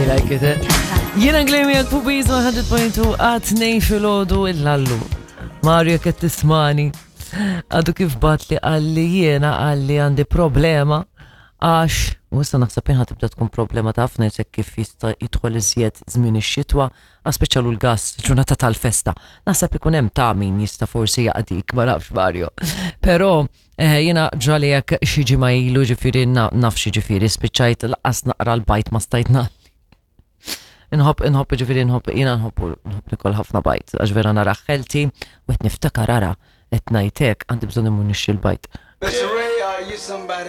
I like it, eh? Jiena Glemi għal Pubiz 100.2 għat nej fil-ħodu il-lallu. Mario qed tismani. Għadu kif bat li għalli jiena għalli għandi problema għax u issa naħseb jien tibda tkun problema ta' ħafna jisek kif jista' jidħol iżjed żmien ix-xitwa, speċjalu l-gas ġurnata tal-festa. Naħseb ikun hemm ta' min jista' forsi jaqdik, ma nafx Mario. Però eh, jiena ġrali hekk xi ġimgħa ilu ġifieri naf xi ġifieri spiċċajt laqas naqra l-bajt ma stajt nagħli. Inħobb, inħobb, ġifiri nħobb, jina nħobb, nħobb nikol ħafna bajt, għax vera nara ħelti, u qed niftakar ara, qed ngħidlek għandi bżonn immur nixtri l-bajt. Mr. Ray, are you somebody?